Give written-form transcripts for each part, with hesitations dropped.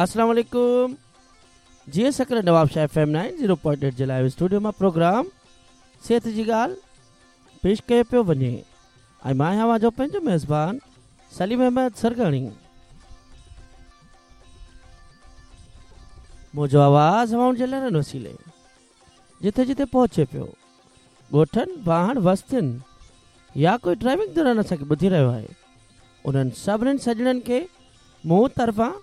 اسلام عليڪم جي Sakrand Nawabshah F M 90.8 جي لائيو اسٽوڊيو مان پروگرام صحت جي ڳالهه پيش ڪيو پيو وڃي ۽ مان آهيان اوهان جو پنهنجو ميزبان سليم احمد سرگاڻي. منهنجو آواز هوائن جي لهرن وسيلي جٿي جٿي پهچي پيو، ڳوٺن، واهڻ، وستين يا ڪوئي ڊرائيونگ دوران اسان کي ٻڌي رهيو آهي، انهن سڀني سڄڻن کي مون طرفان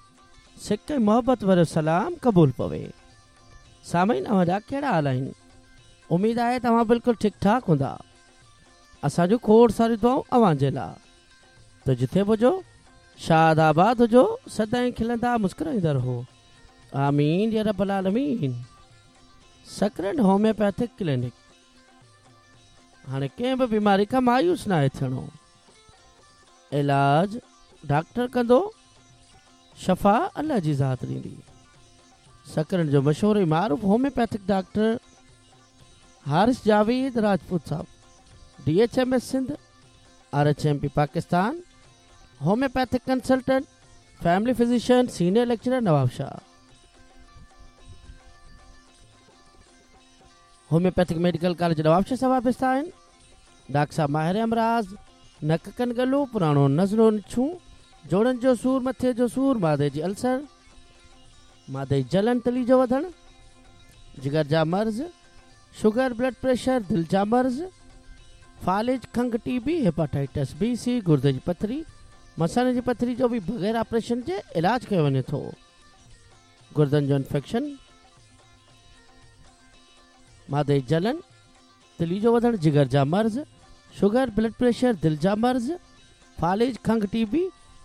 سڪ ۽ محبت ڀريو سلام قبول پوي. سامعين اوهان جا ڪهڙا حال آهن؟ اميد آهي ته اوهان بلڪل ٺيڪ ٺاڪ هوندا. اسان جون کوڙ ساريون دعائون اوهان جي لا. ته جٿي به هجو شاد آباد هجو سدائين کلندا مسڪرائيندا رهو. آمين يا رب العالمين. سڪرنڊ هوميوپيٿڪ ڪلينڪ هاڻي ڪنهن به بيماري کان مايوس ناهي ٿيڻو. علاج ڊاڪٽر ڪندو شفا الله جي ذات ڏيندي. سڪرنڊ جو مشهور ۽ معروف هوميوپيٿڪ ڊاڪٽر حارث جاويد راجپوت صاحب D H M S Sindh, R H M P Pakistan, homeopathic consultant, family physician, senior lecturer Nawabshah. Homeopathic medical college Nawabshah سان وابسته آهن. ڊاڪٽر صاحب ماهر امراض، نڪ ڪن ڳلو، پراڻو نزلو نڇون، جوڙن جو سور، مٿي جو سور، معدي جي السر، معدي جي جلن تلي جو وڌڻ، جگر جا مرض، شگر، بلڊ پريشر، دل جا مرض، فالج، کنگهه، ٽي بي، هيپاٽائٽس بي، سي، گردي جي پٿري، مثاني جي پٿري جو به بغير آپريشن جي علاج ڪيو وڃي ٿو. گردن جو انفيڪشن، معدي جي جلن، تلي جو وڌڻ، جگر جا مرض، شگر، بلڊ پريشر، دل جا مرض، فالج، کنگهه، ٽي بي،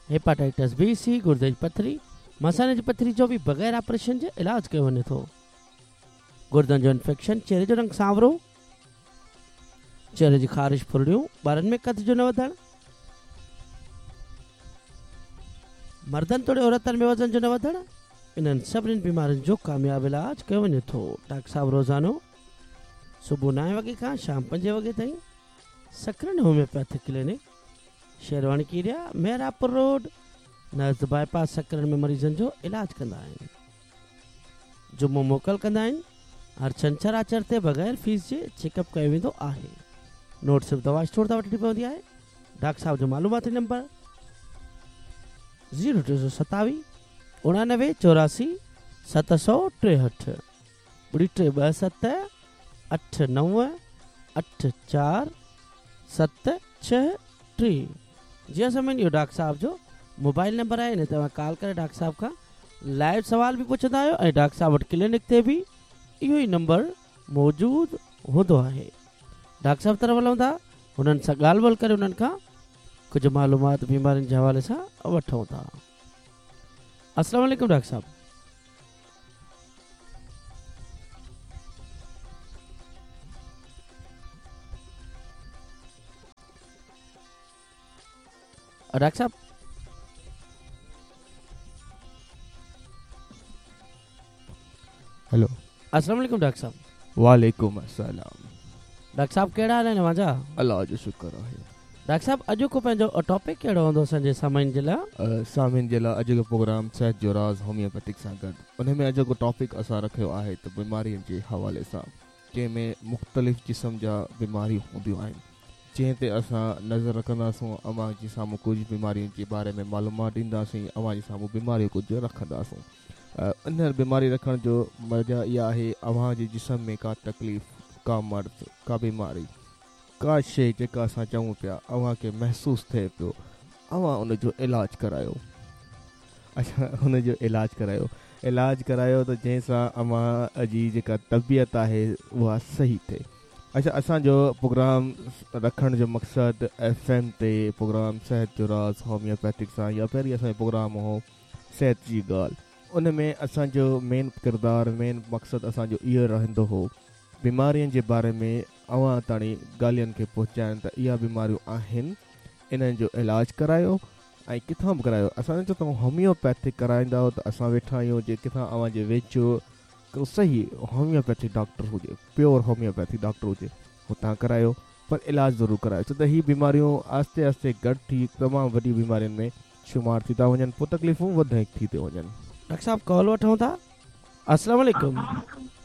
هيپاٽائٽس بي، سي، گردي جي پٿري، مثاني جي پٿري جو به بغير آپريشن جي علاج ڪيو وڃي ٿو. گردن جو انفيڪشن، چهري جو رنگ سانورو، چهري جي خارش، ڦرڙيون، ٻارن ۾ قد جو نه وڌڻ، مردن توڙي عورتن ۾ وزن جو نه وڌڻ، انهن سڀني بيمارين جو ڪامياب علاج ڪيو وڃي ٿو. ڊاڪٽر صاحب روزانو صبح نائين وڳي کان شام پنجين وڳي تائين سڪرنڊ هوميوپيٿڪ ڪلينڪ، شيرواني ڪيريا، محرابپور روڊ، نزد باء پاس سڪرنڊ ۾ مريضن جو علاج ڪندا آهن. جمعو موڪل ڪندا آهن. هر ڇنڇر آچر تي بغير فيس جي چيڪ اپ ڪيو ويندو آهي. نوٽ صرف دوا اسٽور تان وٺڻي پوندي آهي. ڊاڪٽر صاحب جو معلوماتي نمبر زيرو 327 89 84 763 ٻڙي 3 2 7 8 9 8 4 7 6 3 جي ها سامعين اهو ڊاڪٽر صاحب جو موبائل نمبر آهي ان تي اوهان ڪال ڪري ڊاڪٽر صاحب کان لائيو سوال به پڇندا آهيو ۽ ڊاڪٽر صاحب وٽ ڪلينڪ تي به اهو ئي نمبر موجود هوندو آهي. ڊاڪٽر صاحب طرف هلون ٿا انهن سان ڳالهه ٻولهه ڪري انهن کان ڪجهه معلومات بيمارين جي حوالي سان وٺون ٿا. السلام عليڪم ڊاڪٽر صاحب. ڊاڪٽر صاحب. هيلو. السلام عليڪم ڊاڪٽر صاحب. وعليڪم السلام. ڊاڪٽر صاحب ڪهڙا حال آهن اوهان جا؟ الله جو شڪر آهي. ڊاڪٽر صاحب اڄوڪو پنهنجو ٽاپڪ ڪهڙو هوندو اسان جي سامعين جي لاء؟ سامعين جي لاء اڄوڪو پروگرام صحت جو راز هوميوپيٿڪ سان گڏ ان ۾ اڄوڪو ٽاپڪ اسان رکيو آهي ته بيمارين جي حوالي سان جنهن ۾ مختلف قسم جا بيماريون هونديون آهن جنهن تي اسان نظر رکنداسون اوهان جي سامهون ڪجهه بيمارين جي باري ۾ معلومات ڏينداسين اوهان جي سامهون بيماريون ڪجهه رکنداسون ان بيماري رکڻ جو وجه اها آهي اوهان جي جسم ۾ ڪا تڪليف ڪا مرض ڪا بيماري ڪا شيء جيڪا اسان چئون پيا اوهان کي محسوس ٿئي پيو اوهان ان جو علاج ڪرايو اڇا ان جو علاج ڪرايو علاج ڪرايو ته جنهن سان اوهان جي جيڪا طبيعت آهي اها صحيح ٿئي اڇا اسان جو پروگرام رکڻ جو مقصد ايف ايم تي پروگرام صحت جو راز هوميوپيٿڪ سان يا پهرين اسان جو پروگرام هو صحت جي ڳالهه ان ۾ اسان جو مين ڪردار مين مقصد اسان جو اهو رهندو هو بيمارين جي باري ۾ اوهان تاڻي ڳالهين کي پهچائڻ ته اها بيماريون آهن انهن جو علاج ڪرايو ۽ ڪٿان به ڪرايو اسان نه چوندو هوميوپيٿڪ ڪرائيندؤ ته اسان ويٺا آهيون جي ڪٿان اوهان جي ويجهو ڪو صحيح هوميوپيٿڪ ڊاڪٽر هجي پيور هوميوپيٿڪ ڊاڪٽر هجي هتان ڪرايو پر علاج ضرور ڪرايو ڇو ته هي بيماريون آهستي آهستي گڏ ٿي تمام وڏي بيمارين ۾ شمار ٿي ٿا وڃن پوء تڪليفون وڌيڪ ٿي ٿيون وڃن. ڊاڪٽر صاحب ڪال وٺون ٿا. السلام عليڪم.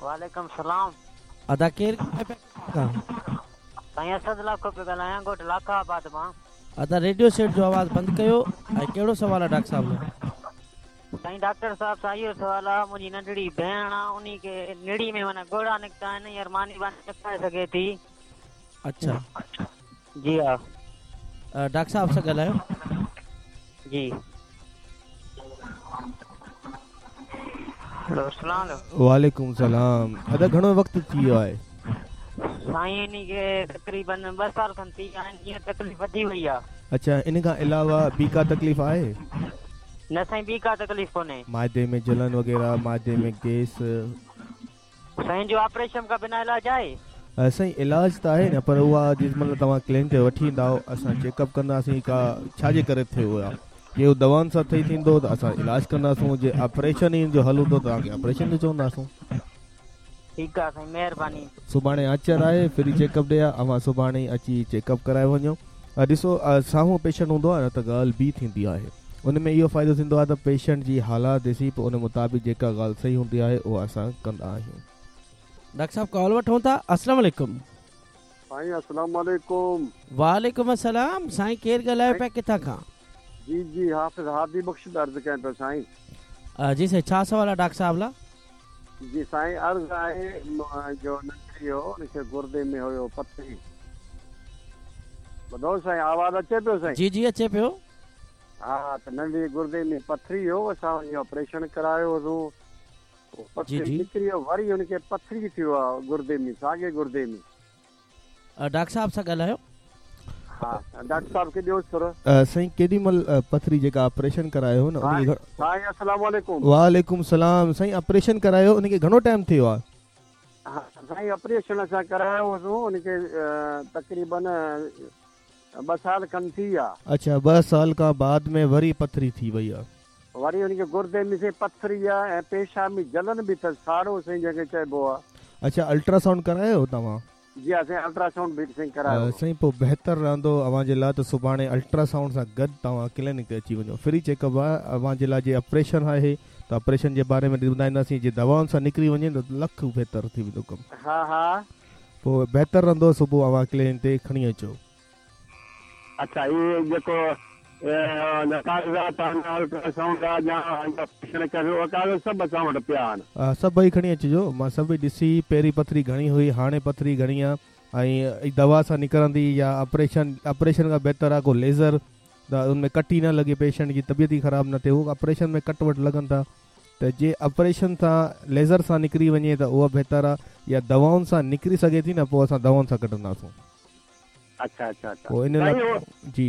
وعليڪم السلام. ادا ڪير ڳالهائي پيا ڪٿان کان؟ سائين اسد لاکو پيو ڳالهايان ڳوٺ لاکا آباد مان. ادا ريڊيو سيٽ جو آواز بند ڪيو ۽ ڪهڙو سوال آ ڊاڪٽر صاحب لاء؟ سائين ڊاڪٽر صاحب سان اهو سوال آ منهنجي ننڍڙي ڀيڻ آ انهي کي نڙي ۾ معنيٰ ڳوڙها نڪتا آهن هينئر ماني باني نه کائي سگهي ٿي. اڇا. جي ها. ڊاڪٽر صاحب سان ڳالهايو. جي. هيلو السلام عليڪم. وعليڪم السلام ادا گهڻو وقت ٿي ويو آهي. سائين انهي کي تقريبن ٻه سال کن ٿي ويا آهن هينئر تڪليف وڌي وئي آ. اڇا ان کان علاوه ٻي ڪا تڪليف آهي؟ نه سائين ٻي ڪا تڪليف ڪونهي. معدي ۾ جلن وغيره معدي ۾ گيس. سائين جو آپريشن کان بنا علاج آهي؟ سائين علاج ته آهي نه پر اها جنهن مهل توهان ڪلينڪ تي وٺي ايندائو اسان چيڪ اپ ڪنداسين ڪا ڇا جي ڪري ٿيو آهي جي اهو دوائن سان ٺهي ٿيندو ته اسان علاج ڪنداسون جي آپريشن ئي ان جو حل هوندو ته توهان کي آپريشن جو چونداسون. ٺيڪ آ سائين مهرباني. سڀاڻي آچر آهي فري چيڪ اپ ڊي آ اوهان سڀاڻي ئي اچي چيڪ اپ ڪرائي وڃو ڏسو سامهون پيشنٽ هوندو آ نه ته ڳالهه ٻي ٿيندي آهي ان ۾ اهو فائدو ٿيندو آ ته پيشنٽ جي حالات ڏسي پوء ان مطابق جيڪا ڳالهه صحيح هوندي آهي اها اسان ڪندا آهيون. ڊاڪٽر صاحب ڪال وٺون ٿا السلام عليڪم. سائين السلام عليڪم. وعليڪم السلام سائين ڪير ڳالهايو پيا ڪٿان کان. جي جي حافظ هادي بخش پيو عرض ڪيان پيو سائين. جي سائين ڇا سوال آ ڊاڪٽر صاحب لا. جي سائين عرض آهي منهنجو ننڍڙي هو ان کي گردي ۾ هيو پٿري ٻڌو سائين آواز اچي پيو سائين. جي جي اچي پيو. ها ته ننڍڙي گردي ۾ پٿري هو اسان وڃي آپريشن ڪرايو هوسون پوء جي پٿري جي. نڪري ويو وري ان کي پٿري ٿيو آ گردي ۾ ساڳي گردي ۾. ڊاڪٽر صاحب سان ڳالهايو. ها ڊاڪٽر صاحب کي ڏيو سر. سائين ڪيڏي مهل پٿري جيڪا آپريشن ڪرايو هو نه ان کي سائين السلام عليڪم. وعليڪم السلام سائين آپريشن ڪرايو ان کي گهڻو ٽائيم ٿيو آ. ها سائين آپريشن اسان ڪرايو هوسون ان کي تقريبن ٻه سال کن ٿي ويا. اڇا ٻه سال کان بعد ۾ وري پٿري ٿي وئي آ. وري ان کي گردي ۾ سائين پٿري آ ۽ پيشاب ۾ جلن به اٿس ساڙو سائين جنهن کي چئبو آ. اڇا الٽراسائونڊ ڪرايو توهان. جي ها سائين الٽراسائونڊ به سائين ڪرايو هو. سائين پوء بهتر رهندو اوهان جي لاء ته سڀاڻي الٽراسائونڊ سان گڏ توهان ڪلينڪ تي اچي وڃو فري چيڪ اپ آهي اوهان جي لاء جي آپريشن آهي ته آپريشن جي باري ۾ ٻڌائينداسين جي دوائن سان نڪري وڃي ته لک بهتر ٿي ويندو ڪم. ها ها. پوء بهتر رهندو صبح اوهان ڪلينڪ تي کڻي اچو. اڇا هي جيڪو ڪاغذات آهن الٽراسائونڊ آ يا آپريشن ڪيو اهي ڪاغذ سڀ اسان وٽ پيا آهن. سڀئي کڻي اچجو مان سڀئي ڏسي پهرين پٿري گهڻي هئي هاڻي پٿري گهڻي آ ۽ دوا سان نڪرندي يا آپريشن آپريشن کان بهتر آ ڪو ليزر ته ان ۾ ڪٽ ئي نه لڳي پيشنٽ جي طبيعت ئي خراب نه ٿئي هو آپريشن ۾ ڪٽ وٽ لڳن ٿا ته جي آپريشن سان ليزر سان نڪري وڃي ته اها بهتر آ يا دوائن سان نڪري سگهي ٿي نه پوء اسان دوائن سان ڪڍنداسون. اڇا اڇا اڇا پوء ان لاء سائين اهو جي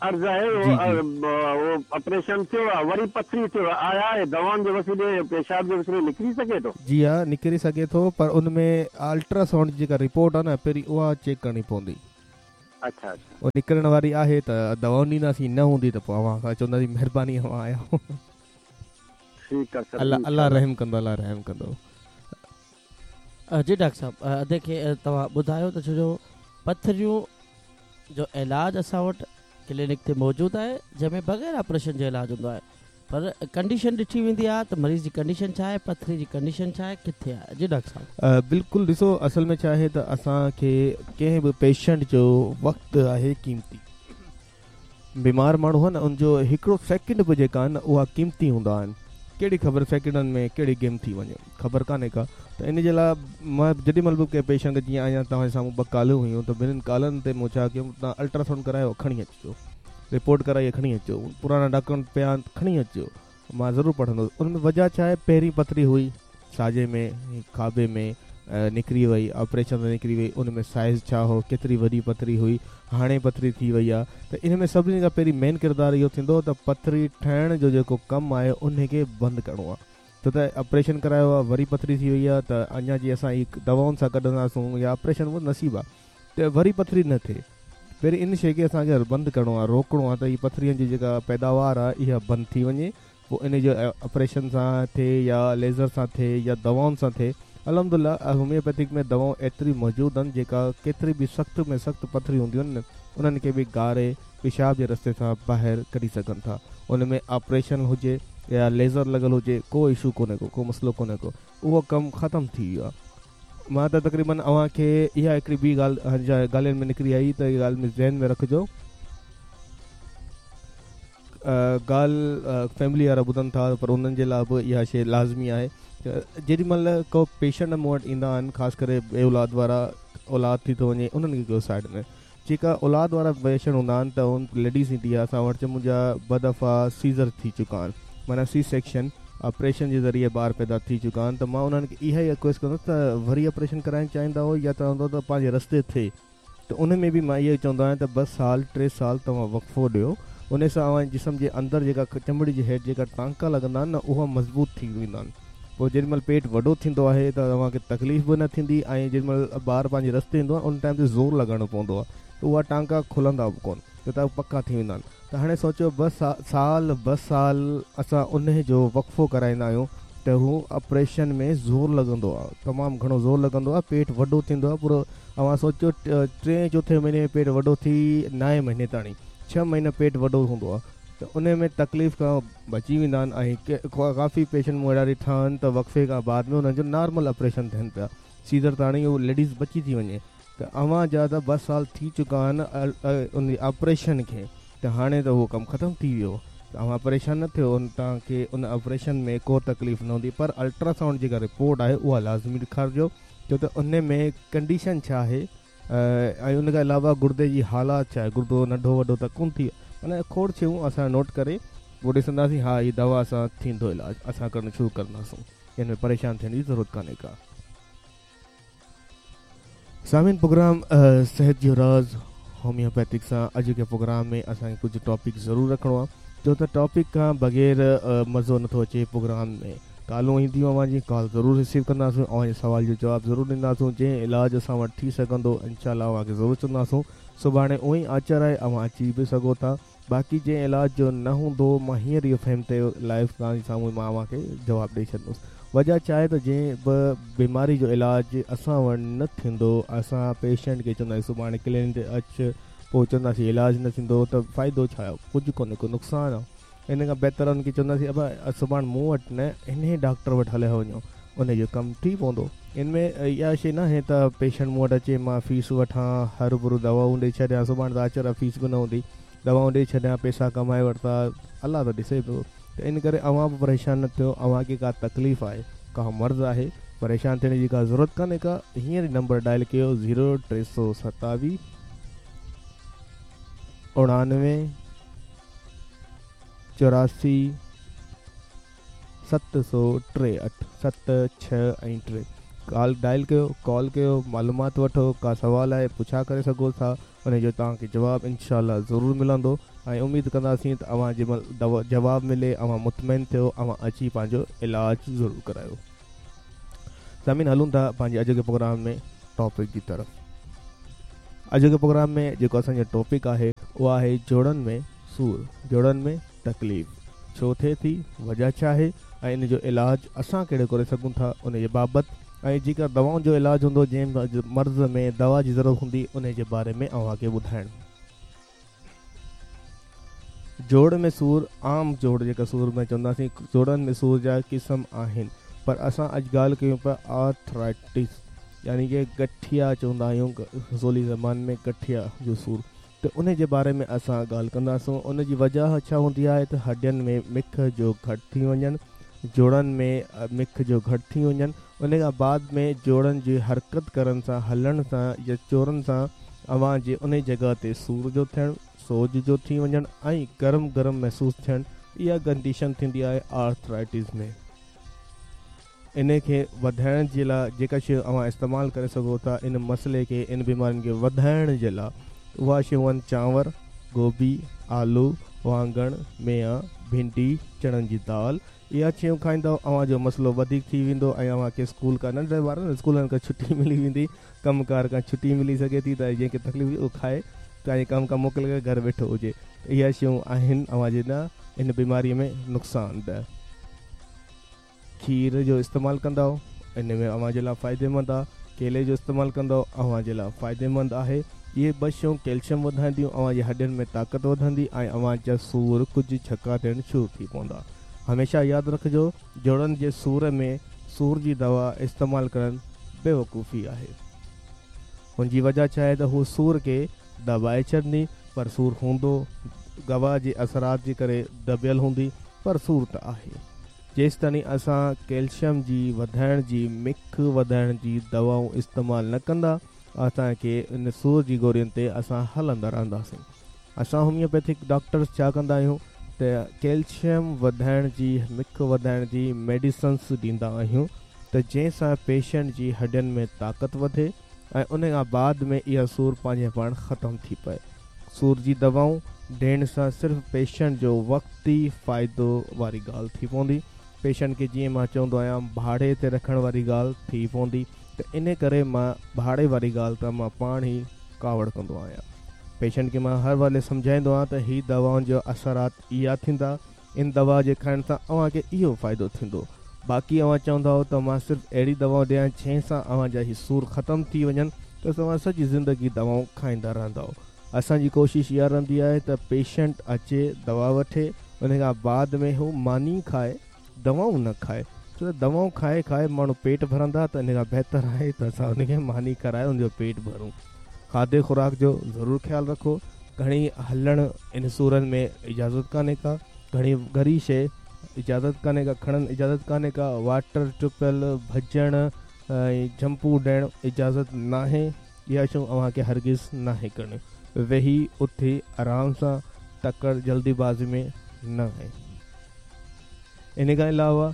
عرض آهي جي جي. اهو آپريشن ٿيو آهي وري پٿري ٿيو آهي آيا اهي دوائن جي وسيلي پيشاب جي وسيلي نڪري سگهي ٿو؟ جي ها نڪري سگهي ٿو پر ان ۾ الٽرا سائونڊ جي جيڪا رپورٽ آهي نه پهرين اها چيڪ ڪرڻي پوندي. اڇا اڇا. اها نڪرڻ واري آهي ته دوائون ڏينداسين نه هوندي ته پوء اوهان کان چونداسين مهرباني اوهان آيا. ٺيڪ آهي سر الله انشاء الله الله. رحم ڪندو الله رحم ڪندو. جي ڊاڪٽر صاحب ادي کي توهان ٻڌايو ته ڇو جو پٿريون جو علاج اسان وٽ ڪلينڪ تي موجود آهي جنهن ۾ بغير آپريشن جو علاج هوندو آهي پر ڪنڊيشن ڏٺي ويندي آهي ته مريض جي ڪنڊيشن ڇا آهي پٿري جي ڪنڊيشن ڇا آهي ڪٿي آهي جي ڊاڪٽر صاحب. بلڪل ڏسو اصل ۾ ڇا آهي ته اسان کي ڪنهن به پيشنٽ جو وقت آهي قيمتي بيمار ماڻهو آهي نه ان جو هڪڙو سيڪنڊ به جيڪا آهن نه اها قيمتي هوندا آهن ڪهڙي خبر سيڪنڊن ۾ ڪهڙي گيم ٿي وڃي خبر ڪانهي ڪا ته ان جي لاء مان جيڏي مهل به ڪنهن پيشنٽ کي جيئن اڃا توهان جي سامهون ٻه ڪالون هيون ته ٻنهين ڪالن تي مون ڇا ڪيو توهان الٽراسائونڊ ڪرايو کڻي اچجو رپورٽ ڪرائي کڻي اچو پراڻا ڊاڪيومينٽ پيا آهن کڻي اچجو مان ضرور پڙهندس ان ۾ وجهه ڇا آهي پهرين پٿري هئي ساڄي ۾ کاٻي ۾ نڪري وئي آپريشن سان نڪري وئي ان ۾ سائيز ڇا هو ڪيتري وڏي پٿري هئي هاڻي پٿري ٿي وئي آهي ته ان ۾ سڀني کان پهرين مين ڪردار اهو ٿيندو ته پٿري ٺهڻ جو جيڪو ڪم آهي ان کي بند ڪرڻو آهي ڇو ته آپريشن ڪرايو آهي وري پٿري ٿي وئي آهي ته اڃا جي اسان هي دوائن سان ڪڍنداسون يا آپريشن نصيب آهي ته وري پٿري نه ٿئي پهرين ان شيء کي اسان کي بند ڪرڻو آهي، روڪڻو آهي ته هي پٿرين جي جيڪا پيداوار آهي اها بند ٿي وڃي پوء ان جو آپريشن سان ٿئي يا ليزر سان ٿئي يا دوائن سان ٿئي الحمدلله هوميوپيٿڪ ۾ دوائون ايتريون موجود آهن جيڪا ڪيتري به سخت ۾ سخت پٿريون هونديون آهن انهن کي به ڳاري پيشاب جي رستي سان ٻاهر ڪڍي سگهن ٿا ان ۾ آپريشن هجي يا ليزر لڳل هجي ڪو اشو ڪونهي ڪو ڪو مسئلو ڪونهي ڪو اهو ڪم ختم ٿي ويو آهي. مان ته تقريبن اوهان کي اها هڪڙي ٻي ڳالهه ڳالهين ۾ نڪري آئي ته اها ڳالهه ذهن ۾ رکجو ڳالهه فيملي وارا ٻڌن ٿا پر انهن جي لاء به اها شيء لازمي آهي ته جيڏي مهل ڪو پيشنٽ مون وٽ ايندا آهن خاص ڪري بي اولاد وارا اولاد ٿي ٿو وڃي انهن کي ڪيو سائيڊ ۾ جيڪا اولاد وارا پيشنٽ هوندا آهن ته ان ليڊيز ايندي آهي اسان وٽ چي منهنجا ٻه دفعا سيزر ٿي چڪا آهن معنيٰ سي سيڪشن آپريشن جي ذريعي ٻار پيدا ٿي چڪا آهن ته مان انهن کي اها ئي رڪويسٽ ڪندس ته وري آپريشن ڪرائڻ چاهيندا هو يا چوندو ته پنهنجي رستي ٿئي ته ان ۾ به مان اهو ئي چوندو آهيان ته ٻه سال ٽي سال توهان وقفو ڏيو ان سان اوهان جي جسم جي اندر جيڪا چمڙي جي هيٺ جيڪا ٽانڪا لڳندا آهن نه اها مضبوط ٿي ويندا آهن پوء جيڏي مهل پيٽ وڏو ٿيندو آهي ته اوهان کي تڪليف به نه ٿيندي ۽ جيڏي مهل ٻار پنهنجي رستي ايندو آهي ان ٽائيم تي زور لڳائڻو پوندو آهي ته اها ٽانڪا کلندا به ڪونه ڇو ته پڪا ٿي ويندا آهن ته هاڻي سوچيو ٻه سال ٻه سال اسان انهي جو وقفو ڪرائيندا آهيون ته هو آپريشن ۾ زور لڳندو آهي تمام گهڻو زور لڳندو آهي پيٽ وڏو ٿيندو آهي پورو اوهان سوچيو ٽئين چوٿين مهيني ۾ پيٽ وڏو ٿي نائين مهيني تاڻي ڇهه مهينا پيٽ وڏو هوندو آهي ته انهي ۾ تڪليف کان بچي ويندا آهن ۽ ڪافي پيشنٽ مون اهڙا ڏٺا آهن ته وقفي کان بعد ۾ انهن جو نارمل آپريشن ٿين پيا سيزر تاڻي هو ليڊيز بچي ٿي وڃي ته اوهان جا ته ٻه سال ٿي چڪا آهن ان آپريشن کي ته هاڻي ته اهو ڪم ختم ٿي ويو ته اوهان پريشان نه ٿيو توهان کي ان آپريشن ۾ ڪو تڪليف نه هوندي پر الٽراسائونڊ جيڪا رپورٽ آهي اها لازمي ڏيکارجو ڇو ته ان ۾ ڪنڊيشن ڇا آهي ۽ ان کان علاوه گردي جي حالات ڇا آهي گردو ننڍو وڏو ته ڪونه ٿي ويو معنيٰ کوڙ شيون اسان نوٽ ڪري پوء ڏسنداسين ها هي دوا سان ٿيندو علاج اسان ڪرڻ شروع ڪنداسون ان ۾ پريشان ٿيڻ جي ضرورت ڪانهي ڪا. سامعين پروگرام صحت جو راز هوميوپيٿڪ سان اڄوڪي پروگرام ۾ اسان کي ڪجهه ٽاپڪ ضرور رکڻو آهي ڇو ته ٽاپڪ کان بغير مزو نٿو اچي پروگرام ۾ ڪالون اينديون اوهان جي ڪال ضرور رسيو ڪنداسون اوهان جي سوال جو جواب ضرور ڏينداسون جنهن علاج اسان وٽ ٿي سگهندو انشاء الله اوهان کي ضرور چونداسون سڀاڻي اونئي آچر آهي اوهان اچي به سگهو ٿا باقي جنهن علاج جو نه هوندو مان هينئر اهو فهم تي لائيو توهان جي سامهون مان اوهان کي جواب ڏئي ڇڏندس وجه ڇا آهي ته جنهن به بيماري جو علاج اسان وٽ نه ٿيندو اسان پيشنٽ کي چونداسين سڀاڻي ڪلينڪ تي اچ پوء چونداسين علاج نه ٿيندو ته فائدو ڇا آهي ڪجهه ڪونهي ڪو نقصان آهي ان کان بهتر ان کي چونداسين ابا سڀاڻ مون وٽ نه انهي ڊاڪٽر وٽ هليا وڃو ان جو ڪم ٿي پوندو. ان ۾ اها شيء ناهي ته پيشنٽ مون وٽ اچي مان فيس وٺان هروڀرو دوائون ڏئي ڇڏيان سڀاڻ ته آچر آ فيس به نه هوندي دوائون ڏئي ڇڏيان پئسا ڪمائي ورتا الله ته ڏسي پيو ته ان ڪري اوهان به پريشان نه ٿيو اوهان کي ڪا تڪليف آهي ڪا مرض آهي پريشان ٿيڻ جي ڪا ضرورت ڪانهي ڪا هينئر ئي نمبر ڊائل ڪيو زيرو 327 99 84 738 7 6 ۽ 3 ڪال ڊائل ڪيو ڪال ڪيو معلومات وٺو ڪا سوال آهي پڇا ڪري سگهو ٿا ان جو توهان کي جواب انشاء الله ضرور ملندو ۽ اميد ڪنداسين ته اوهان جي جواب ملي اوهان مطمئن ٿيو اوهان اچي پنهنجو علاج ضرور ڪرايو سامعين هلون ٿا پنهنجي اڄوڪي پروگرام ۾ ٽاپڪ جي طرف اڄوڪي پروگرام ۾ جيڪو اسان جو ٽاپڪ آهي اهو آهي جوڙن ۾ سور جوڙن ۾ تڪليف ڇو ٿئي ٿي وجه ڇا آهي ۽ ان جو علاج اسان ڪهڙو ڪري سگهون ٿا ان جي بابت ۽ جيڪا دوائن جو علاج هوندو جنهن مرض ۾ دوا جي ضرورت هوندي ان جي باري ۾ اوهان کي ٻڌائڻ جوڙ ۾ سور، عام جوڙ جيڪا سور ۾ چونداسين جوڙن ۾ سور جا قسم آهن پر اسان اڄ ڳالهه ڪيون پيا آرٿرائٽس يعني ڪي گٺيا چوندا آهيون سولي زبان ۾ گٺيا جو سور ته ان جي باري ۾ اسان ڳالهه ڪنداسون ان جي وجه ڇا هوندي آهي ته هڏين ۾ مک جو گهٽ ٿي وڃڻ جوڙن ۾ مک جو گهٽ ٿي وڃڻ ان کان بعد ۾ جوڙن جي حرڪت ڪرڻ سان هلڻ سان يا چورن سان اوهان جي انهي جڳهه تي سور جو ٿيڻ سوڄ جو ٿي وڃڻ ۽ گرم گرم محسوس ٿيڻ اها ڪنڊيشن ٿيندي آهي آرٿرائٽس ۾. انهي کي وڌائڻ جي لاء جيڪا شيون اوهان استعمال ڪري سگهو ٿا ان مسئلي کي ان بيمارين کي وڌائڻ جي لاء اها شيون آهن چانور، گوبي، آلو، واڱڻ، ميها، ڀينڊي، چڻن جي دال اها شيون کائيندؤ اوهان جو مسئلو وڌيڪ ٿي ويندو ۽ اوهان کي اسڪول کان ننڍڙي ٻارن اسڪولن کان ڇٽي ملي ويندي ڪم ڪار کان ڇٽي ملي سگهي ٿي ته جنهن کي تڪليف هجي اهو کائي پنهنجي ڪم کان موڪل ڪري گهر ويٺو هجي ته اها شيون آهن اوهان جي لاء ان بيماري ۾ نقصان ده. کير جو استعمال ڪندؤ ان ۾ اوهان جي لاء فائديمند آهي ڪيلي جو استعمال ڪندؤ اوهان جي لاء فائديمند آهي اهي ٻه شيون ڪيلشم وڌائينديون اوهان جي هڏين ۾ طاقت وڌندي ۽ اوهان جا سور ڪجهه جهڪا ٿيڻ شروع ٿي پوندا. هميشه ياد رکجو جوڙن جي سور ۾ سور جي دوا استعمال ڪرڻ بيوقوفي آهي. ان جي وجه ڇا آهي ته هو سور کي دٻائي ڇڏندي پر سور هوندو، دوا جي اثرات جي ڪري دٻيل هوندي پر سور ته آهي. جيستائين اسان ڪيلشم جي وڌائڻ جي مک وڌائڻ جي دوائون استعمال نه ڪندا اسان کي ان سور جي گورين تي اسان هلندا رهنداسين. اسان هوميوپيٿڪ ڊاڪٽرس ڇا ڪندا آهيون ته ڪيلشم وڌائڻ جي مک وڌائڻ جي ميڊيسنس ڏيندا آهيون ته جنهن سان پيشنٽ جي هڏين ۾ طاقت وڌي ۽ ان کان بعد ۾ اها سور پنهنجي پاڻ ختم ٿي پئي. سور جي دوائون ڏيڻ سان صرف پيشنٽ جو وقتي فائدو واري ڳالهه ٿي پوندي. پيشنٽ کي جيئن مان چوندو آهيان ڀاڙي تي رکڻ واري ڳالهه ٿي پوندي ته ان ڪري مان ڀاڙي واري ڳالهه تان مان پاڻ ئي ڪاوڙ ڪندو آهيان. پيشنٽ کي مان هر ويلي سمجهائيندو آهيان ته هي دوائن جا اثرات اها ٿيندا، ان دوا جي کائڻ سان اوهان کي اهو فائدو ٿيندو. باقي اوهان چوندؤ ته مان صرف اهڙي دوائون ڏيان جنهن سان اوهان جا هي سور ختم ٿي وڃن ته توهان سڄي زندگي دوائون کائيندا رهندؤ. اسان جي ڪوشش اها رهندي آهي ته پيشنٽ اچي دوا وٺي ان کان بعد ۾ هو ماني کائي دوائون نه کائي ڇو ته دوائون کائي کائي ماڻهو پيٽ ڀرندا ته ان کان بهتر آهي ته اسان ان کي ماني کارائي ان جو پيٽ ڀرون. کاڌي خوراڪ جو ضرور خيال رکو. گهڻي هلڻ ان سورن ۾ اجازت ڪانهي ڪا، گهڻي ڳري شيء اجازت ڪانهي ڪا کڻڻ اجازت ڪانهي ڪا، واٽر ٽپيل ڀڄڻ ۽ جهمپون ڏيڻ اجازت ناهي، اها شيون اوهان کي هرگز ناهي ڪرڻيون. ويهي اٿي آرام سان تڪڙ جلدي بازي ۾ نه آهي. ان کان علاوه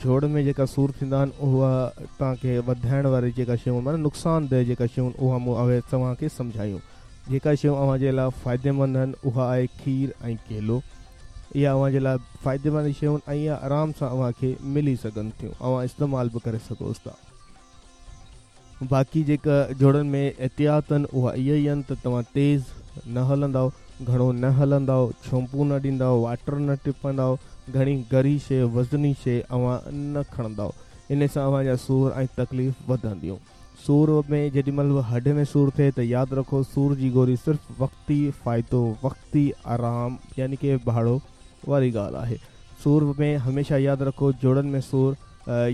جوڙ ۾ جيڪا سور ٿيندا آهن اها توهان کي وڌائڻ واري جيڪا شيون معنيٰ نقصان ده جيڪا شيون اها مون اهي توهان کي سمجهايون. جيڪا شيون اوهان جي لاء فائديمند آهن اها آهي کير ۽ ڪيلو. اها اوهان جي لاء فائديمند شيون آهن ۽ اها آرام سان اوهان کي ملي سگهن ٿيون اوهان استعمال به ڪري سگهوس ٿا. باقي جيڪا جوڙن ۾ احتياط آهن اها اها ئي آهن ته توهان تيز نه هلندؤ، گهڻو نه هلندؤ، ڇومپون نه ڏيندؤ، واٽر نه ٽپندؤ، گهڻي ڳري شيء وزني شيء اوهان نه کڻندؤ. ان سان اوهان جا سور ۽ تڪليف وڌنديون. سور ۾ جيڏي مهل به هڏ ۾ سور ٿئي ته ياد رکو سور جي گوري صرف وقتي فائدو وقتي آرام يعني ڪي ڀاڙو واري ڳالهه آهي. سور ۾ هميشه ياد رکو جوڙن ۾ سور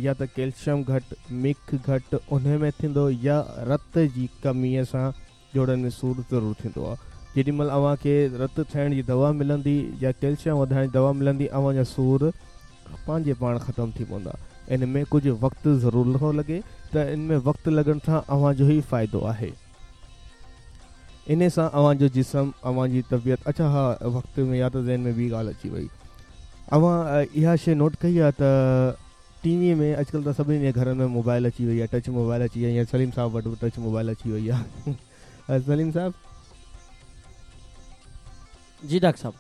يا ته ڪيلشم گهٽ، مک گهٽ انهي ۾ ٿيندو يا رت جي ڪمي سان جوڙن ۾ سور ضرور ٿيندو آهي. جيڏي مهل اوهان کي رت ٺاهڻ جي دوا ملندي يا ڪيلشيم وڌائڻ جي دوا ملندي اوهان جا سور پنهنجي پاڻ ختم ٿي پوندا. ان ۾ ڪجهه وقت ضرور ٿو لڳي ته ان ۾ وقت لڳڻ سان اوهان جو ئي فائدو آهي. انهي سان اوهان جو جسم اوهان جي طبيعت اڇا ها وقت ۾ يا ته ذهن ۾ ٻي ڳالهه اچي وئي اوهان اها شيء نوٽ ڪئي آهي ته ٽي وي ۾ اڄڪلهه ته سڀني جي گهرن ۾ موبائل اچي وئي آهي ٽچ موبائل اچي وئي آهي سليم صاحب وٽ به ٽچ موبائل اچي وئي آهي سليم صاحب. جي ڊاڪٽر صاحب.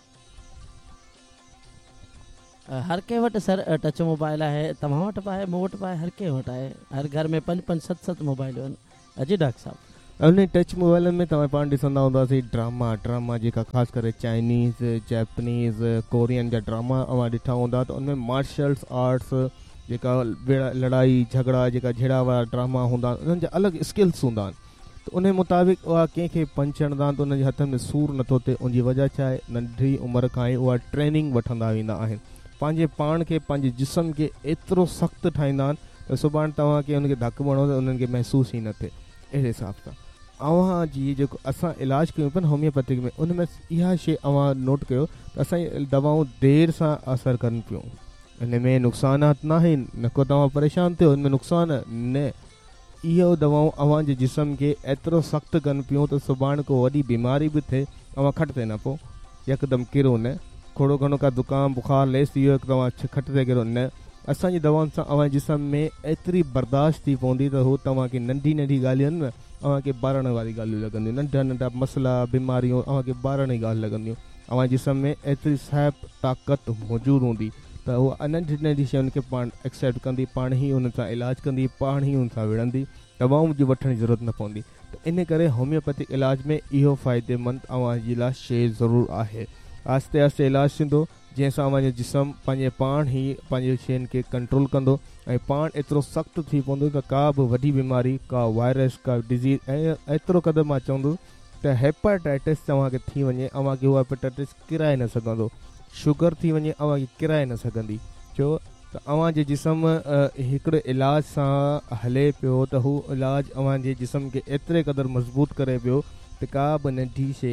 هر ڪنهن وٽ سر ٽچ موبائل آهي توهان وٽ به آهي مون وٽ به آهي هر ڪنهن وٽ آهي هر گهر ۾ پنج پنج ست ست موبائلون آهن جي ڊاڪٽر صاحب. انهي ٽچ موبائلن ۾ توهان پاڻ ڏسندا هونداسين ڊراما ڊراما جيڪا خاص ڪري چائنيز جيپنيز ڪورين جا ڊراما اوهان ڏٺا هوندا ته ان ۾ مارشلس آرٽس جيڪا لڙائي جهڳڙا جيڪا جهيڙا وارا ڊراما هوندا آهن انهن جا الڳ اسڪلس هوندا آهن ته انهي مطابق اها ڪنهن کي پنچ هڻندا آهن ته انهن جي هٿن ۾ سور نٿو ٿئي ان جي وجه ڇا آهي ننڍي عمر کان ئي اها ٽريننگ وٺندا ويندا آهن پنهنجي پاڻ کي پنهنجي جسم کي ايترو سخت ٺاهيندا آهن ته سڀاڻي توهان کي ان کي ڌڪ به هڻو ته انهن کي محسوس ئي نه ٿئي اهڙي حساب سان اوهان جي جيڪو اسان علاج ڪيون پيا نه هوميوپيٿڪ ۾ ان ۾ اها شي اوهان نوٽ ڪيو ته اسان جي دوائون دير سان اثر ڪن پيون ان ۾ نقصانات ناهن نه ڪو توهان پريشان ٿيو ان ۾ نقصان نه اهو دوائون اوهان جي جسم کي ايترو سخت ڪن پيون ته سڀاڻ ڪو وڏي بيماري به ٿئي اوهان کٽ تي نه پئو يڪدم ڪرو نه ٿورو گهڻو ڪا زڪام بخار ليس ٿي ويو توهان کٽ تي ڪرو نه اسان جي دوائن سان اوهان جي جسم ۾ ايتري برداشت ٿي پوندي ته هو توهان کي ننڍي ننڍي ڳالهيون نه اوهان کي ٻاراڻي واري ڳالهيون لڳنديون ننڍا ننڍا مسئلا بيماريون اوهان کي ٻاراڻي ڳالهه لڳنديون اوهان جي جسم ۾ ايتري سهپ طاقت موجود هوندي ته اها ننڍي ننڍي شين کي پاڻ ايڪسيپٽ ڪندي، پاڻ ئي انهن سان علاج ڪندي، پاڻ ئي انهن سان وڙهندي، دوائون جي وٺڻ جي ضرورت نه پوندي ته ان ڪري هوميوپيٿڪ علاج ۾ اهو فائديمند اوهان جي لاء شيء ضرور آهي. آهستي آهستي علاج ٿيندو جنهن سان اوهان جو جسم پنهنجي پاڻ ئي پنهنجي شين کي ڪنٽرول ڪندو ۽ پاڻ ايترو سخت ٿي پوندو ته ڪا به وڏي بيماري، ڪا وائرس، ڪا ڊزيز ۽ ايترو قدر مان چوندس ته هيپاٽائٽس توهان کي ٿي وڃي اوهان کي اها هيپاٽائٽس ڪيرائي نه سگهندو. شگر ٿي وڃي اوهان کي ڪيرائي نه سگهندي. ڇو ته اوهان جي جسم هڪڙي علاج سان هلي پيو ته هو علاج اوهان جي جسم کي ايتري قدر مضبوط ڪري پيو ته ڪا به ننڍي شي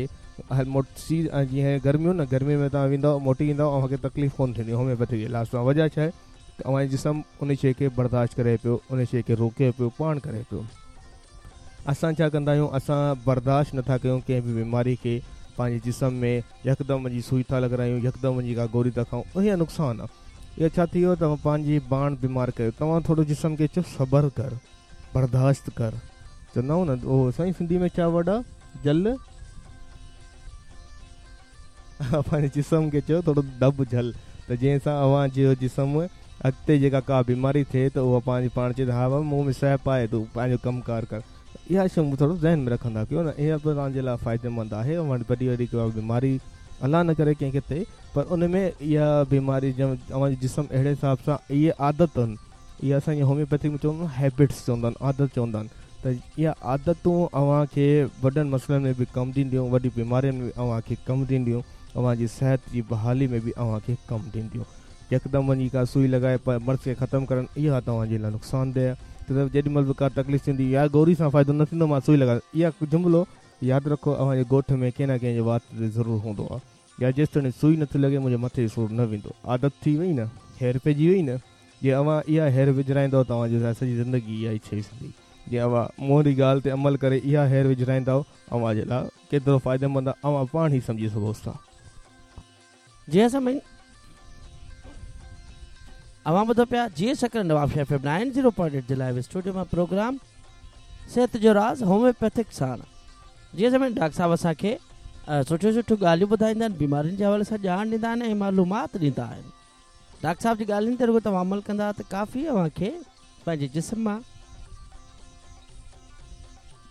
موٽي جيئن گرميون نه گرمي ۾ توهان ويندؤ موٽي ايندؤ اوهان کي تڪليف ڪونه ٿيندي هوميوپيٿڪ علاج سان وجه ڇا آهي ته اوهان جو جسم ان شي کي برداشت ڪري پيو ان شي کي روڪي پيو پاڻ ڪري پيو اسان ڇا ڪندا آهيون اسان برداشت نٿا ڪيون ڪنهن به بيماري کي پنهنجي جسم ۾ يڪدم وڃي سوئي ٿا لڳرايون يڪدم وڃي ڪا گوري ٿا کائون اهي نقصان آهي اهو ڇا ٿي ويو توهان پنهنجي پاڻ بيمار ڪيو توهان ٿورو جسم کي چئو صبر ڪر برداشت ڪر چوندا آهيون نه اهو سائين سنڌي ۾ ڇا ورڊ آهي جل پنهنجي جسم کي چئو ٿورو دٻ جهل ته جنهن سان اوهان جو جسم اڳتي جيڪا ڪا بيماري ٿئي ته اها پنهنجي پاڻ چئي ته ها بابا مون ۾ سهپ آهي تون پنهنجو ڪم ڪار ڪر اها شيون به ٿورو ذهن ۾ رکندا ڪيو نه اها به توهان جي لاء فائديمند آهي اوهان وٽ وڏي وڏي ڪا بيماري الله نه ڪري ڪنهن کي ٿئي پر ان ۾ اها بيماري اوهان جو جسم اهڙي حساب سان اهي عادتن اها اسان جي هوميوپيٿڪ ۾ چوندا آهن هيبٽس چوندا آهن عادت چوندا آهن ته اها عادتون اوهان کي وڏن مسئلن ۾ به ڪم ڏينديون وڏي بيمارين ۾ به اوهان کي ڪم ڏينديون اوهان جي صحت جي بحالي ۾ به اوهان کي ڪم ڏينديون يڪدم وڃي ڪا سوئي لڳائي مرض کي ختم ڪرڻ اها توهان جي لاء نقصانده آهي ته جيڏي مهل به ڪا تڪليف ٿيندي يار گوري سان فائدو نه ٿيندو مان سوئي لڳائي اها جملو ياد رکو اوهان جي ڳوٺ ۾ ڪنهن نه ڪنهن جي وات تي ضرور هوندو آهي يا جيستائين سوئي نٿي لڳي منهنجي مٿي جو سور نه ويندو عادت ٿي وئي نه هير پئجي وئي نه جي اوهان اها هير وجهرائيندؤ توهان جي سڄي زندگي اها ئي ڇئي سگهندي. جي اوهان منهنجي ڳالهه تي عمل ڪري اها هير وجهرائيندؤ اوهان جي لاء ڪيترو فائديمند آهي اوهان پاڻ ئي سمجهي سگهو ٿا. جي سامعين اوهان ٻڌو پيا جي Sukkur Nawabshah F M 90.8 جي لائيو اسٽوڊيو مان پروگرام صحت جو راز هوميوپيٿڪ ساڻ. جي سامعين ڊاڪٽر صاحب اسان کي سٺيون سٺيون ڳالهيون ٻڌائيندا آهن بيمارين جي حوالي سان ڄاڻ ڏيندا آهن ۽ معلومات ڏيندا آهن. ڊاڪٽر صاحب جي ڳالهين تي رڳو توهان عمل ڪندا ته ڪافي اوهان کي پنهنجي جسم مان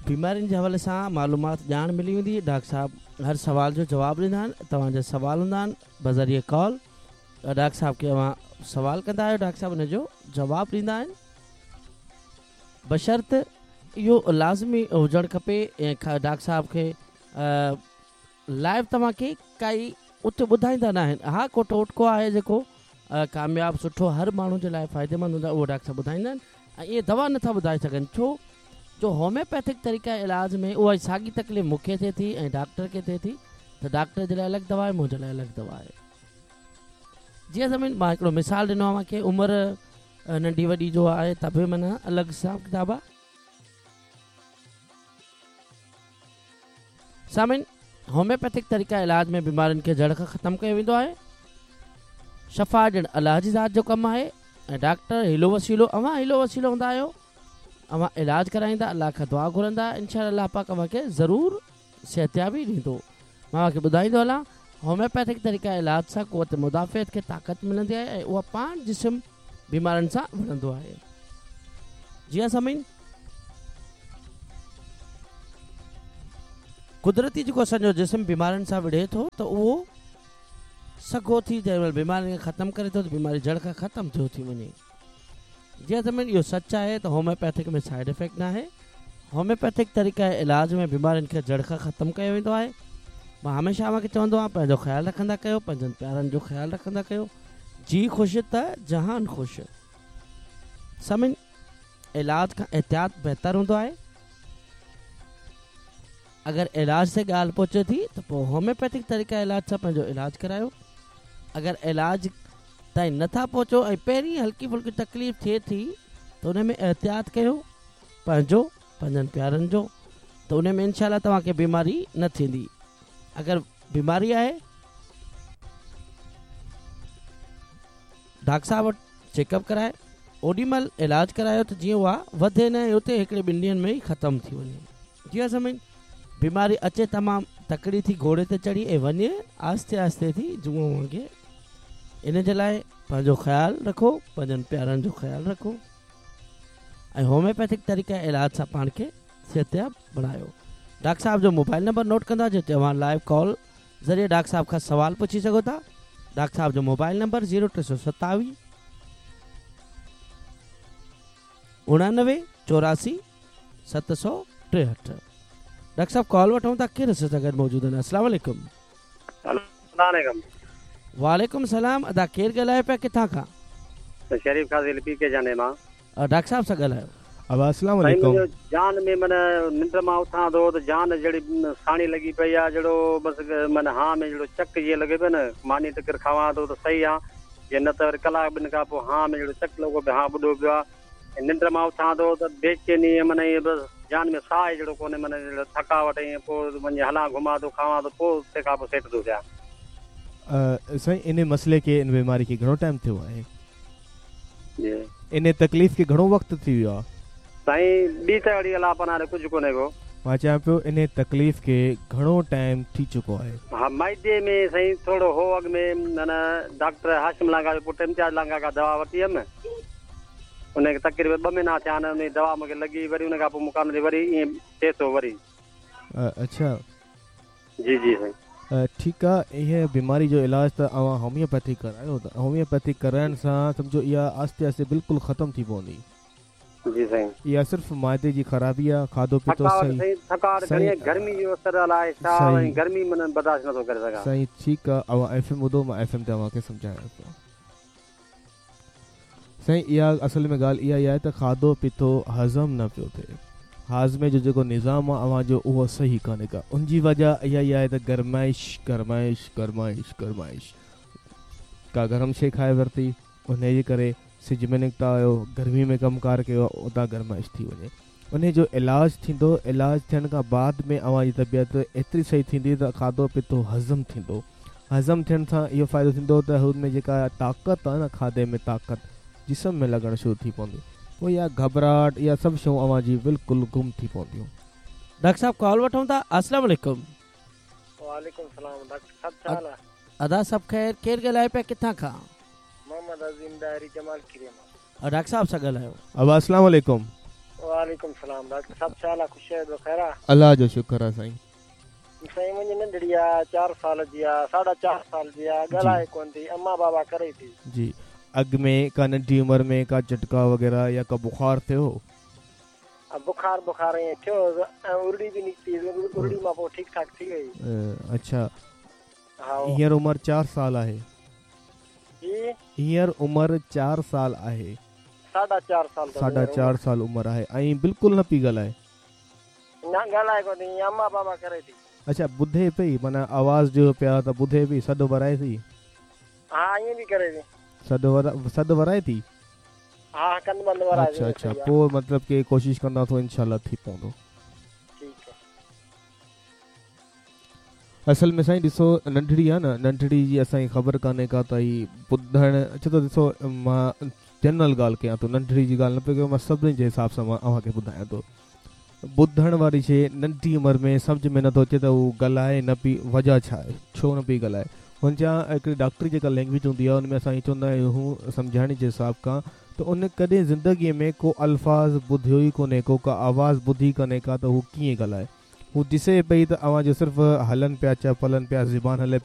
بيمارين جي حوالي سان معلومات ڄاڻ ملي ويندي ڊاڪٽر صاحب هر سوال جو جواب ڏيندا آهن توهان جا سوال هوندا آهن بذريعي ڪال ڊاڪٽر صاحب کي اوهان سوال ڪندا آهيو ڊاڪٽر صاحب ان جو جواب ڏيندا آهن بشرط اهو لازمي هجڻ کپي ۽ ڊاڪٽر صاحب کي لائيو توهان کي ڪائي اتي ٻڌائيندا نه آهن ها ڪو ٽوٽڪو آهي جيڪو ڪامياب سٺو هر ماڻهو جي لاء فائديمند هوندو آهي اهو ڊاڪٽر صاحب ٻڌائيندا آهن ۽ اهي دوا نٿا ٻڌائي سگهن ڇو جو هوميوپيٿڪ طريقه علاج ۾ اها ساڳي تڪليف مون کي ٿئي ٿي ۽ ڊاڪٽر کي ٿئي ٿي ته ڊاڪٽر جي لاء الڳ دوا آهي منهنجي لاء الڳ دوا آهي جيئن سمجھ مان هڪڙو مثال ڏنو اوهان کي عمر ننڍي وڏي جو آهي ته به معنيٰ الڳ حساب ڪتاب آهي سامعين! هوميوپيٿڪ طريقه علاج ۾ بيمارين کي جڙ کان ختم ڪيو ويندو آهي. شفا ڏيڻ الله جي ذات جو ڪم آهي ۽ ڊاڪٽر حيلو وسيلو اوهان حيلو وسيلو هوندا آهيو اوهان علاج ڪرائيندا الله کان دعا گهرندا انشاء الله پاڪ اوهان کي ضرور صحتيابي ڏيندو مان اوهان کي ٻڌائيندو هلان هوميوپيٿڪ طريقه علاج سان قوت مدافعت کي طاقت ملندي آهي ۽ اها پاڻ جسم بيمارين سان وڙهندو آهي. جي ها سامعين قدرتي جيڪو اسان جو جسم بيمارين سان وڙهي ٿو ته اهو سگهو ٿي جنهن مهل بيمارين کي ختم ڪري ٿو ته بيماري جڙ کان ختم ٿيو ٿي وڃي. جي ها سامعين اهو سچ آهي ته هوميوپيٿڪ ۾ سائيڊ افيڪٽ ناهي. هوميوپيٿڪ طريقه علاج ۾ بيمارين کي جڙ کان ختم ڪيو ويندو آهي. مان هميشه اوهان کي چوندو آهيان پنهنجو خيال رکندا ڪيو پنهنجن پيارن جو خيال رکندا ڪيو. جي خوش ته جهان خوش. سامعين علاج کان احتياط بهتر هوندو آهي. اگر علاج تي ڳالهه پهچي ٿي ته پوء هوميوپيٿڪ طريقه علاج سان پنهنجو علاج ڪرايو. اگر علاج تائين نه ٿا پهچو ۽ پهرين هلڪي ڦلڪي تڪليف ٿئي ٿي ته ان ۾ احتياط ڪيو پنهنجو پنهنجن پيارن جو ته ان ۾ انشاء الله توهان کي بيماري نه ٿيندي. اگر بيماري آهي ڊاڪٽر صاحب وٽ چيڪ اپ ڪرائي اوڏي مهل علاج ڪرايو ته جيئن اها وڌي نه ۽ اتي هڪڙي ٻن ڏينهن ۾ ئي ختم ٿي وڃي. جي ها سامعين بيماري اچي تمام تڪڙي ٿي گهوڙي تي چڙهي ۽ وڃي آهستي آهستي ٿي جونء وانگي. ان جي لاء پنهنجو خيال رکو پنهنجن پيارن جو خيال رکو ۽ هوميوپيٿڪ طريقه علاج سان پاڻ کي صحتياب بڻايو. ڊاڪٽر صاحب جو موبائل نمبر نوٽ ڪندا جنهن تي اوهان لائيو ڪال ذريعي ڊاڪٽر صاحب کان سوال پڇي سگهو ٿا. ڊاڪٽر صاحب جو موبائل نمبر زيرو 327 89 84 763. ڊاڪٽر صاحب ڪال وٺون ٿا ڪير اسان سان گڏ موجود آهن. السلام عليڪم. السلام عليڪم. وعليڪم السلام ادا ڪير ڳالهايو پيا ڪٿان کان؟ شريف خاصخيلي پي ڪي جاني مان. ڊاڪٽر صاحب سان ڳالهايو. ابا اسلام سائين عليڪم. منهنجو جان ۾ معنيٰ ننڊ مان اٿان ٿو ته جان جهڙي ساڻي لڳي پئي آ جهڙو بس معنيٰ هان ۾ جهڙو چڪ جيئن لڳي پيو نه ماني ٽڪر کاوان ٿو ته صحيح آ جي نه ته وري ڪلاڪ ٻن کان پوء هان ۾ جهڙو چڪ لڳو پيو هان ٻڏو پيو آ ۽ ننڊ مان اٿان ٿو ته بيچيني معنيٰ ائين بس جان ۾ ساهه ئي جهڙو ڪونهي معنيٰ جهڙو ٿڪاوٽ ائين پوء وڃي هلان گهمان ٿو کاوان ٿو پوء تنهن کان پوء سيٽ ٿو ٿيان. سائين انهي مسئلي کي ان بيماري کي گهڻو ٽائيم ٿيو آهي؟ جي. انهي تڪليف کي گهڻو وقت ٿي ويو آ؟ سائين ٻي ته اهڙي الله پناهه ڏي ڪجهه ڪونهي ڪو. مان چيان پيو انهي تڪليف کي گهڻو ٽائيم ٿي چڪو آهي؟ ها معدي ۾ سائين ٿورو هو اڳ ۾ معنيٰ ڊاڪٽر هاشم لانگاهه جو پٽ امتياز لانگاهه کان دوا ورتي هيم ان کي تقريبن ٻه مهينا ٿيا آهن ان دوا مونکي لڳي وري ان کان پوء مون ڪانه ٿي وري ائين ٿئي ٿو وري. اڇا. جي جي سائين. ٺيڪ آ انهي بيماري جو علاج ته اوهان هوميوپيٿي ڪرايو ته هوميوپيٿي ڪرائڻ سان سمجهو اها آهستي آهستي بلڪل ختم ٿي پوندي. جي سائين. اها صرف معدي جي خرابي آ کاڌو پيتو ٿڪاوٽ صحيح سائين ٿڪاوٽ گهڻي آ گرمي جو اثر الائي ڇا ۽ گرمي من برداشت نٿو ڪري سگهان. سائين ٺيڪ آ اوهان ايف ايم ٻڌو مان ايف ايم تي اوهان کي سمجهايان ٿو. سائين اها اصل ۾ ڳالهه اها ئي آهي ته کاڌو پيتو هضم نه پيو ٿئي. هاضمي جو جيڪو نظام آهي اوهان جو اهو صحيح ڪانهي ڪا. ان جي وجه اها ئي آهي ته گرمائش گرمائش گرمائش گرمائش ڪا گرم شي کائي ورتي انهي جي ڪري سج ۾ نڪتا آهيو گرمي ۾ ڪم ڪار ڪيو آهي اتان گرمائش ٿي وڃي انهي جو علاج ٿيندو علاج ٿيڻ کان بعد ۾ اوهان جي طبيعت ايتري صحيح ٿيندي ته کاڌو پيتو هضم ٿيندو هضم ٿيڻ سان اهو فائدو ٿيندو ته هن ۾ جيڪا طاقت آهي نه کاڌي ۾ طاقت جسم ۾ لڳڻ شروع ٿي پوندي پوء اها گهٻراهٽ اها سڀ شيون اوهان جي بلڪل گم ٿي پونديون. ڊاڪٽر صاحب ڪال وٺون ٿا السلام عليڪم. وعليڪم السلام ڊاڪٽر صاحب ڇا حال آ. ادا سڀ خير ڪير ڳالهائي پيا ڪٿان کان. محمد عظيم ڏاهري جمال کيري مان. ڊاڪٽر صاحب سان ڳالهايو. ابا السلام عليڪم. وعليڪم السلام ڊاڪٽر صاحب ڇا حال آ خوش آهيو خير آ. الله جو شڪر آ سائين. سائين منهنجي ننڍڙي آ چار سال جي آ ساڍا چار سال جي آ ڳالهائي ڪون ٿي امان بابا ڪري ٿي. جي اڳ ۾ ڪا ننڍي عمر ۾ ڪا جهٽڪا وغيره يا ڪا بخار ٿيو هو. بخار بخار ائين ٿيو هوس ۽ ارڙي به نڪتي هيس ارڙي مان پوء ٺيڪ ٺاڪ ٿي وئي. اڇا هينئر عمر چار سال آهي. جي. هينئر عمر چار سال آهي. ساڍا چار سال اٿس ساڍا چار سال عمر آهي ۽ بلڪل نه پئي ڳالهائي. نه ڳالهائي ڪونه ٿي ائين امان بابا ڪري ٿي. اڇا ٻڌي پئي معنيٰ آواز ڏيو پيا ته ٻڌي پئي سڏ ورائي ٿي. ها ائين به ڪري ٿي. سڏ سڏ ورائي ٿي. ها ڪنڌ بند ورائي ٿي. اڇا اڇا پوء مطلب ڪي ڪوشش ڪندا ٿو انشاء الله ٿي پوندو. ٺيڪ آ. اصل ۾ سائين ڏسو ننڍڙي آ نه ننڍڙي جي اسان کي خبر ڪانهي ڪا ته هي ٻڌڻ اڇا ته ڏسو مان جنرل ڳالهه ڪيان ٿو ننڍڙي جي ڳالهه نه پيو ڪيان مان سڀني جي حساب سان مان اوهان کي ٻڌايان ٿو ٻڌڻ واري شي ننڍي عمر ۾ سمجهه ۾ نٿو اچي ته هو ڳالهائي نه پئي وجهه ڇا آهي ڇو نه پئي ڳالهائي هن جا هڪڙي ڊاڪٽري جيڪا لينگويج هوندي آهي ان ۾ اسان ائين چوندا آهيون سمجهاڻي جي حساب کان ته ان ڪڏهن زندگي ۾ ڪو الفاظ ٻڌيو ئي ڪونهي ڪو ڪا آواز ٻڌي ڪونهي ڪا ته هو ڪيئن ڳالهائي هو ڏسي پئي ته اوهان جو صرف هلن پيا چپ هلن پيا زبان هلي پئي.